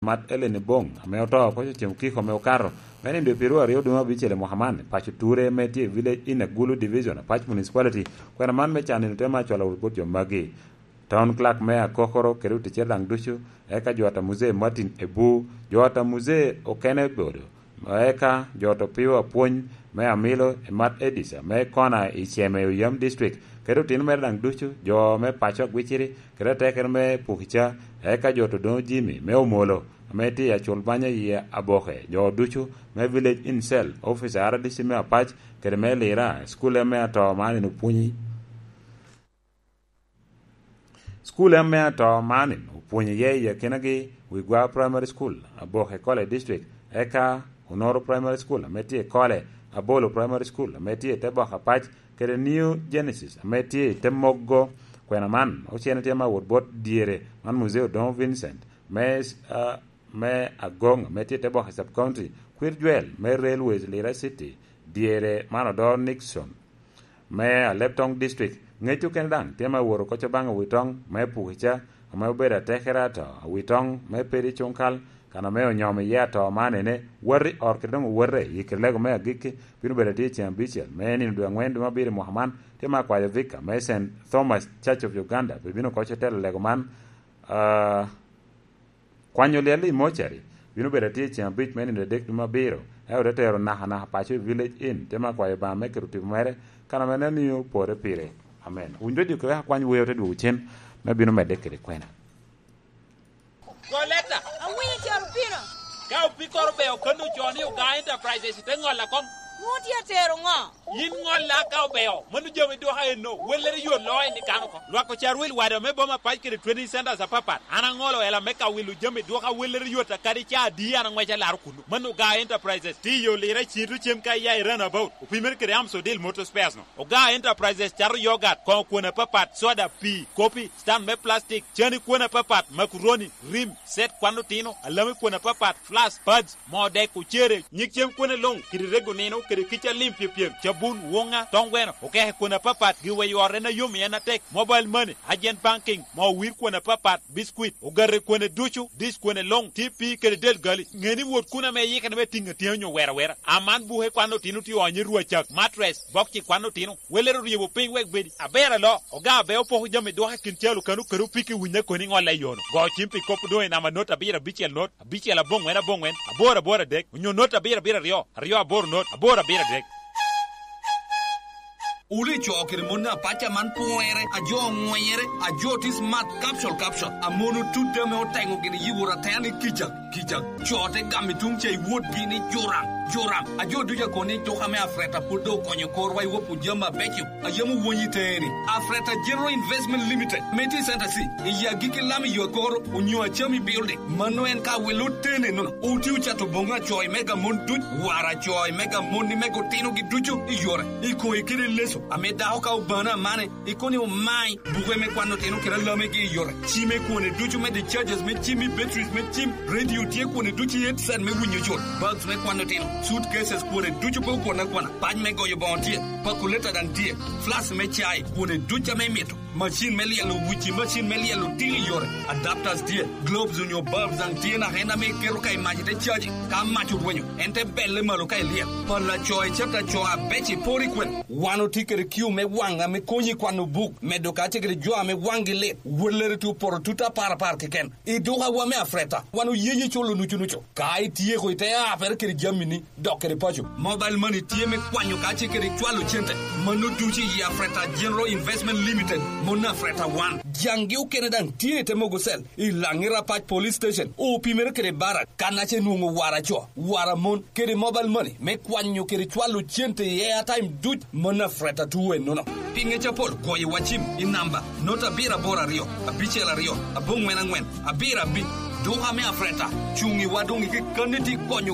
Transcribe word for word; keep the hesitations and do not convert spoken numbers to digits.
Mat Ellen Ebong, ame oto oko cem kiko ame okato, me nino dwe pyeraryo aryo dwe me abicel i mwaka man, i paco Ture, me tye i Village Inn, Agulu Division, Apac Municipality. Kwena man me can nino te ma cwalo wot bot jo magi. Town Clerk me Akokoro kede oticere daŋ ducu, eka jo ata Muzee Martin Ebu, jo ata Muzee okene obedo, eka jo ata Opio Apwony me Amilo, Emat Edisa me Kona i Ceme, Oyam District, kede otino mere daŋ ducu, jo me paco Agwiciri, kede atekere me Pukica, eka jo ata Odoŋo Jimmy me Omolo, ame tye i Acul Banya i Aboke, jo ducu me Village Inn Cell, officer R D C me Apac, kede me Lira, cukul ame ato man en opwonyi. Cukul ame ato man opwonyo iye i akinagi Wigwa Primary School, Aboke Kole District, eka Onoro Primary School ame tye i Kole, Abolo Primary School ame tye i te bok Apac, kede New Genesis ame tye i te Moggo. Kwena man ocene tye ma wot bot dyere man Muzee Odoŋo Vincent me, ah, me Agoŋ ame tye i te bok i Sub County, Kwir Jwel me Railways Lira City, dyere man odoro Nixon me Aleptong District. Ŋec okene daŋ tye ma wot oko Cobaŋ Awitoŋ me Pukica, ame obedo atekere ato Awitoŋ me Pedi Cuŋkal, kan ame onyomo iye ato man ene, wati ot kede doŋ owote i kede lego me agikki, bino bedo atye i ceŋ abicel me nino dwe aŋwen dwe me abiro i mwaka man, tye ma akwayo Vicar me Saint Thomas Church of Uganda, pe bino oko cotelo lego man, ah, Kwanyo lyel i mocari bino bedo atye i ceŋ abic me nino adek dwe me abiro, ento te tero nakanaka paco i Village Inn, te ma kwayo Obaŋa me keto tipo mere, kan ame en omio pore pire. Amen. Winy redio kede wek akwany wer, te dwogo cen me bino medde kede kwena. Go leta. Awinyo caro pino. Ka opikoro be okanni ocoo ni Ogaa Enterprises, te ŋolla koŋ. Nwoŋo tye atero ŋo? Yin ŋolla ka obeo, mano jami dwoka enno, wellere yot loo en i kan oko. Lwak ocar wil wade ame boma pac kede training centers apapat. An aŋolo ela me ka wilo jami dwoka wellere yot a kadi ca adi an aŋweco alaro kunnu. Mano Ogaa Enterprises, tiyo lira cito cem ka iya i runabout, opimere kede Amsodil Motor Spares no. Ogaa Enterprises cato yogat, koŋo kwon apapat, soda, pii, kopi, stand me plastic, cani kwon apapat, makuroni, rim, set kwan otino, alami kwon apapat, flask, pads, moo dek, ocere, nyig cem kwene luŋ, kede rego nino, kede kica lim pyepyem, cabun, woŋa, toŋ gweno, okeke kwene apapat, giwa i ot en a yom i en atek, mobile money, agent banking, moo wir kwene apapat, biscuit, ogate kwene ducu, dish kwene luŋ, T P kede del gali. Ŋe ni wot kun ame iyikere me tiŋ atyeni onyo wero awera. Aman buke kwan otino tye onyo i rwacak, mattress, bokci kwan otino, welere oryebo piny wek bedi. Aber alo, oga abe opoko jami dwoke kin calo kano kede opiki winyo koni ŋolle i yono. Go cim pi kop doŋ i namba not abiro abicel not, abicel aboŋwen aboŋwen, aboro aboro adek, onyo not abiro abiro aryo, aryo aboro not, aboro abiro adek. Wuli co kede mon apac aman pwere, a jo oŋwenyere, a jo tye smart, capsule, capsule. A mon otut ame oteŋo gin yibo ratena ni kicak, kicak. Co te gamo i tuŋ ca i wotgi ni Joram, Joram. A jo ducu akobo ni tuka me Afreta pwod doŋ okonyo korwa i wopwu jami abeco. A yam owonyi teni. Afreta General Investment Limited, ame tye i Center C, i agikki lam i yo akoro, onyo Achami Building. Mano en ka wilo tene nono. Oti ocato boŋo acoy mega mon duc, wara acoy mega mon ni mega otinogi ducu i yore. I koŋ ikede leso, ame dako ka obano amane, ikono ni omai, buke me kwano otino kede alamegi i yore. Cime kwone ducu me the charges me cim i batteries me cim, radio tye kwone ducu i headset me winyo col, bags me kwano otino, suitcases kwone ducu pe okwon akwana, pac me goyo boŋo tye, pakuleta daŋ tye, flask me cai, kwone ducu ame imito. Macin me lyelo wuci, macin me lyelo odilo i yore, adapters tye, globes onyo bulbs daŋ tye naka en ame iketo ka i mac ite caji. Ka mac orwenyo, en te belle malo ka ilyel. Pala coy, cata coy abeco iporo i kwene. Wan otye kede kiu me waŋ ame konyi i kwano buk, medo ka tye kede jo ame waŋgi lit, wellere tye opoto tut apar apar keken. I dukawa me Afreta, wan oyenyo iculo nucu nucu. Ka ityeko, ite apere kede jamini, dok kede paco. Mobile money tye me kwanyo ka tye kede cwalo cente. Mano ducu i Afreta General Investment Limited, mon Afreta One. Jaŋgi okene daŋ tye i te mogo cell, i Laŋira Pac Police Station, opimere kede barak, kan ace nwoŋo wara co, wara mon, kede mobile money me kwanyo kede cwalo cente i airtime duc, mon Afreta two ennono. Pi ŋec apol, goyo wa cim i namba not abiro aboro aryo, abicel aryo, aboŋwen aŋwen, abiro abic. Duka me Afreta, cuŋ i wa doŋ i kekkanni tye konyo